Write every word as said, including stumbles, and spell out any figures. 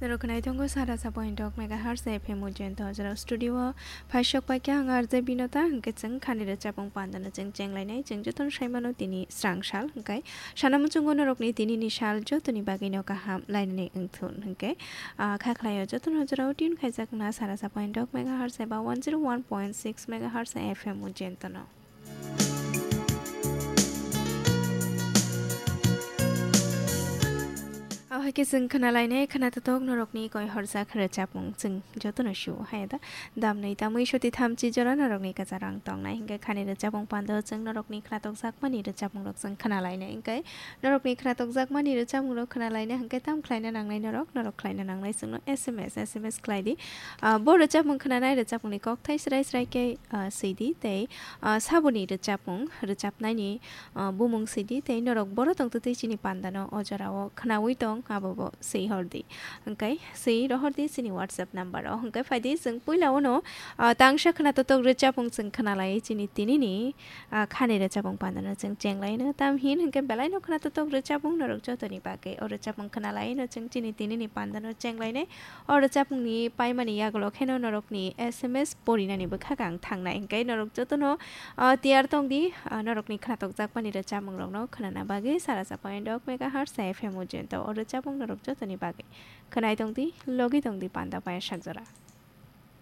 Norok khwnai tongo sara sa point dok megahertz F M Ujjayanta o jora studio o phaisok paikha ang R J Binota, hwnkhe chwng khani rwchapmung pandano chwng chenglainai, chwng jotono saimano tini srang sal, hwnkhe sana muchungo norokni tinini sal jotoni bagwino kaham lainani wngthun, hwnkhe, ah, kha khlaio jotono o jora o tune khaijak na sara sa point dok megahertz eba one zero one point six megahertz F M Ujjayantano. Ahoike chwng khwnalainai khwnatotok norokni koi horjak rwchapmung chwng jotono sio haya da. Damnwi tamwi soti thamchi jora norokni kwcharo ang tongnai, hwnkhe khani rwchapmung pando chwng norokni khwnatokjakmani rwchapmungrok chwng khwnalainai, hwnkhe norokni khwnatokjakmani rwchapmungrok khwnalaina hwnkhe tam khlaina nangnai norok, norok khlaina nangnai chwngno S M S, S M S khlai di. Ah, bo rwchapmung khwnanai rwchapmungni kokthai srai srai khe, ah, swi di tei, ah, saboni rwchapmung rwchapnaini, ah, bumung swi di tei norok boro tongtwtwi chini pandano o jorao khwnaui tong abo bo swi hor di. Hwnkhe swi rohor di chini WhatsApp number o. Hwnkhe phai di chwng puila uno, ah, tangsa khwnatotok rwchapmung chwng khwnalai chini tinini, ah, khani rwchapmung pandano chwng chenglaino. Tam hin hwnkhe belaino khwnatotok rwchapmung norok jotoni bagwi o rwchapmung khwnalaino chwng chini tinini pandano chenglainai. O rwchapmungni paimani yagulo kheno norokni S M S porinani bwkhak ang thangnai, hwnkhe norok jotono, ah, tiyar tong di, ah, norokni khwnatokjakmani rwchapmungrokno khwnana bagwi sara sa point dok megahertz F M Ujjayanta o rwchapmung norok jotoni bagwi khwnai tong di, logi tong di panda paya sakjora.